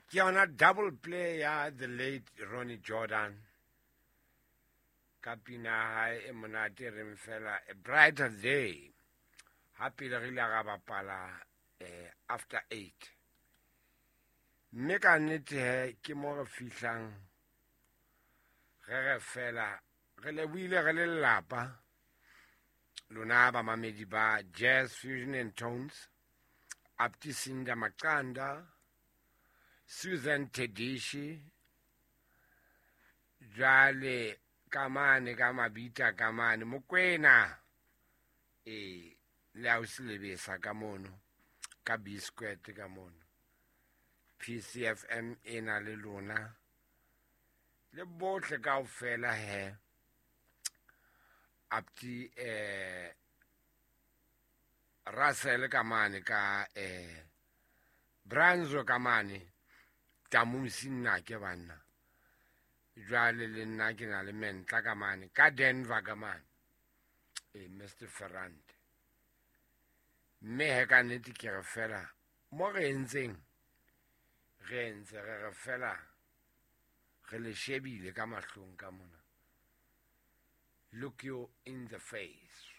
Ke yona double play ya the late Ronnie Jordan ka pina ya hae e monate e reng fela A Brighter Day. Ha pele re ile ra bapala after 8. Mme ka nnete he ke mo re fihlang re re fela re lebohile re le lelapa lona bamamedi ba Jazz Fusion and Tones, Aptisinda Maqanda, Susan Tedishi, jwale ka mane ka mabita ka mane Mokwena, e le ausi Lebesa ka mono ka B-Squared ka mono, PCFM e na le lona le bohle kaofela he. Apti Russell ka mane ka Branzo ka mane Tamusi nna ke banna jwale le nna ke na le mentla ka mane ka Denver ka mane Mr Ferrante. Mme he ka nnete ke re fela mo re entseng re entse re re fela re le shebile ka mahlong ka mona. Look you in the face.